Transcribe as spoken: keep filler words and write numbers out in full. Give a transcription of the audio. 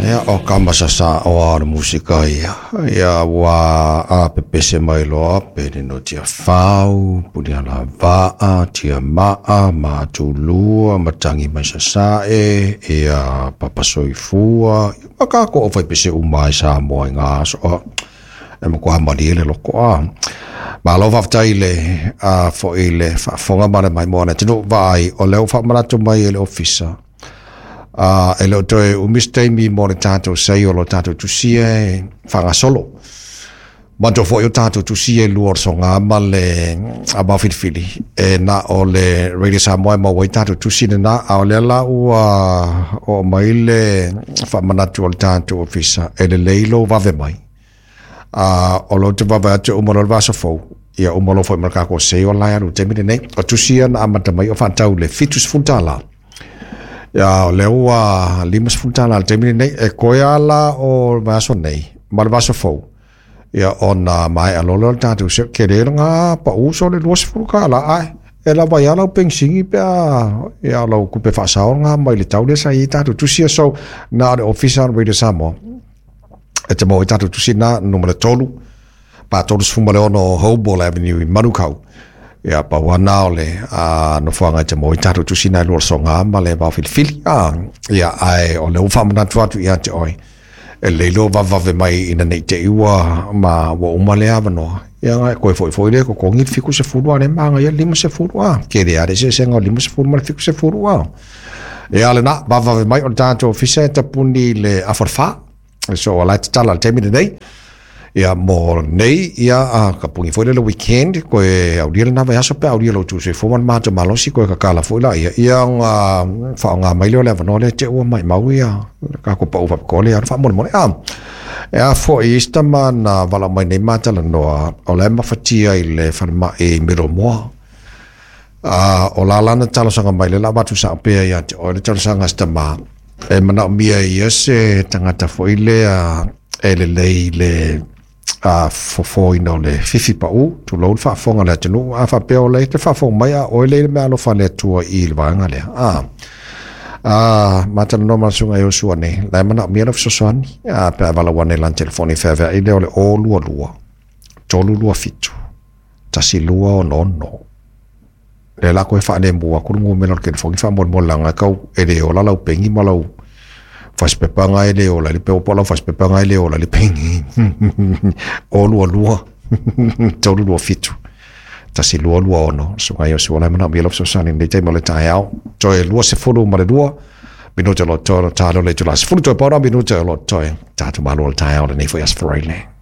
Ia o kama sasa o a le musika ia. Ia ua a pepese mai loa pe no tia fau, puni ala vaa, tia maa, matulua, matangi mai sasae, ia papasoifua, ma kako o fai pese uma i Samoa i ngā aso. E makuā malie le loko a. Malo faafetai le a foi le faafofoga ma le maimoa le atunuu vaai o lea ua faamanatu mai e le ofisa. A e le o toe umi se taimi mo le tatou sei o lo tatou tusia e faagasolo. Manatua foi o tatou tusia e lua o le soga ma le vao filifili e na o le Radio Samoa e maua ai tatou tusi lena, a o lea la ua oo mai le faamanatu o le tatou ofisa e lelei lou vave mai. A o lo te vave atu uma loa le vaiaso fou, ia uma loa foi ma le tatou sei o la e alu i le taimi lenei. O tusi ia na amata mai o faatau le fitu sefulu tala. Ia o lea ua lima sefulu tala i le taimi lenei, e koe lava la o le vaiaso nei ma le vaiaso fou. Ia ona maea loa lea o le tatou seo, tele lena pau so le lua sefulu tala ae e lava ai lava lau penisini pe a ia o lau tupe faasao lena mai le tau lea sa i ai tatou tusi ia. So na o le ofisa o le Radio Samoa e te maua ai tatou tusi na numera tolu pa tolu sefulu ma le ono o Hoball Avenue i Manukau. Ia pau lava na o le a nofoaga e te maua ai tatou tusi na e lua o le soga ma le vao filifili. A ia ae o lea ua faamanatu atu ia te oe e lelei lou vavevave mai ina nei te i ua ma ua uma lea avanoa. Ia na e toe foi foi lea e totogi le fitu sefulu a o lea e magaia le lima sefulu a. Tele lava le eseesega o le lima sefulu ma le fitu sefulu a. Ia lena, vavevave mai o le tatou ofisa e tapuni i le afa o le fa. So o la e tatala i le taimi lenei. Ia mo nei, ia a tapuni foi lea le weekend, koe aulia lena vaiaso pe a aulia lou tuusoifua ma le matou malosi, koe tatala foi laia, ia ona faaaoga mai lea o le avanoa lea te ua maimau ia le tatou pau faapitoa lea e faamolemole. A e a foi isi tama na valaau mai nei ma talanoa, o la e mafatia i le falemai i Middlemoa. A o la lana talosaga mai lea la avatu sao pea ia te oe le talosaga a si tama, e manaomia e ia se tagata foi lea e lelei i le a fofoina o le fifi pau, tulou le faafofoga a le atunuu, a faapea o lea e te faafofoga mai a oe lea i le meaalofa a le Atua i le vaega lea. A a matalanoa ma le susuga Iosua nei, la e manaomia lau fesoasoani, a pe a valaau ane i lana telefoni e feaveai lea o le o lua lua, tolu lua fitu, tasi lua ono ono. Lea la koe faalemu atu le numera o le telefoni faamolemole leaga e tau e le ola lau peni ma lau fasipepa na e le ola i le po o lau fasipepa na e le ola i le peni. O lua lua, tolu lua fitu, tasi lua lua ono. Susuga Iosua la e manaomia lau fesoasoani i lenei taimi o le taeao. Toe lua sefulu ma le lua minute o lo toe, talo le itula sefulu toe paola minute o lo toe. Tatou malo le taeao lenei foi Aso Faraile.